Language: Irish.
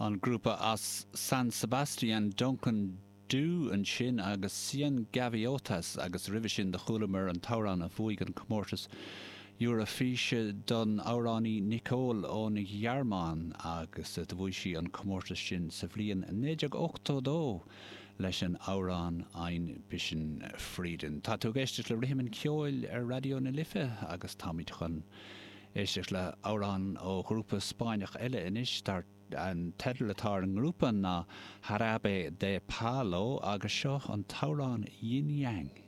An grúpa as San Sebastian, Duncan Dhu ansin agus Cien Gaviotas agus roimhe sin do chualamar an t-amhrán a bhuaigh an comórtas Eurofíse don amhránaí Nicole ón Ghearmáin agus do bhuaigh sí an comórtas sin sa bhliain 1982 leis an amhrán Ein bisschen Frieden. Tá tú ag éisteacht le Rithim an Cheoil ar Raidió na Life agus táimid chun éisteacht le hamhrán ó ghrúpa Spáinneach eile anois, dar an teideal atá ar an ngrúpa ná Jarabe de Palo agus seo an t-amhrán Yin Yang.